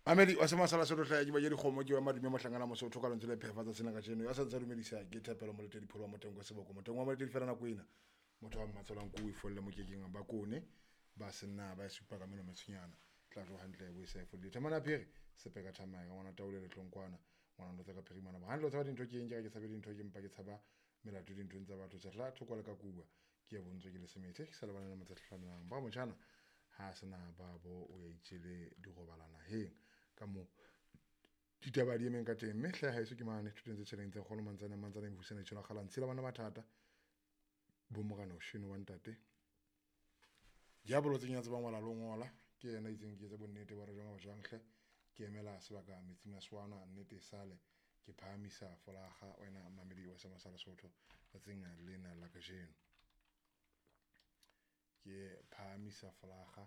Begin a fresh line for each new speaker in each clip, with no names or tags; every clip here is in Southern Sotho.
Mamedi wa sema sala sotho hlaya ke ba je dikgomo ke wa madume mohlangana mosotho ka lentswe le phefatsa sena kajeno ya sa ntse dumedisa ke thapelo moletedi pholo wa motengo seboko motengo wa moletedi fela nako ena motho wa mmatsolang ko ifolle mokekeng ba kone ba senna ba supa ka meno metshonyana tla tlo hantle bo sa ifolle thamana phiri sepeka thamaya ngwana taole le tlonkwana ngwana ndo tsa ka phirimana ba hantle o tshaba dintho ke eng ke ke tshabe dintho ke mpa ke tshaba melato dinthong tsa batho tsa thoko le ka kuwa ke ya bontswe ke le semethe ke sa lebana le motsatlhamelang ba motjhana ha sena ba bo o ya itjele dirobalana heng ka mo ditaba di emeng ka teng mme hle haeso ke mane thuteng tse tjheleng tse kgolo mantsane mantsane mofusana tjhela kgalang tshela bana mathata bo morana o sheno wa ntate diabolo tse nyatse ba ngwala lo ngola ke yena itseng ke tse bonnete ba re jwang ba jwang hle ke emela sebaka metsing a swana nnete sale ke phahamisa folaga wena mamedi wa sema sa Lesotho tsatsing lena la kajeno ke phahamisa folaga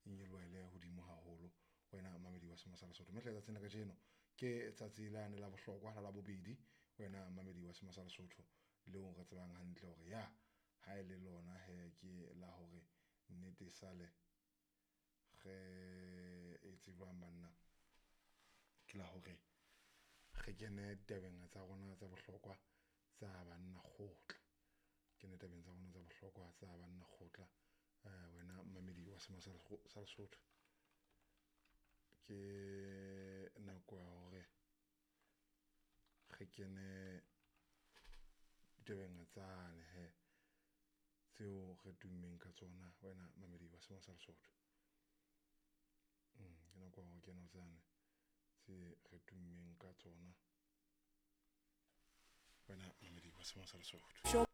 e nyolohele hodimo haholo wena mamedi wa sema sa Lesotho mme hle tsatsing la kajeno ke tsatsi lane la bohlokwa la Labobedi wena mamedi wa sema sa Lesotho leo re tsebang hantle hore ya ha e le lona he ke la hore nnete sale re e tsebang banna ke la hore re kene tabeng tsa rona tsa bohlokwa tsa banna kgotla kene tabeng tsa rona tsa bohlokwa tsa banna kgotla wena mamedi wa sema sa Lesotho ke nako ya hore re kene ditabeng tsane he tseo re tummeng ka tsona wena mamedi wa sema sa Lesotho ke nako ya hore kene tsane tse re tummeng ka tsona wena mamedi wa sema sa Lesotho.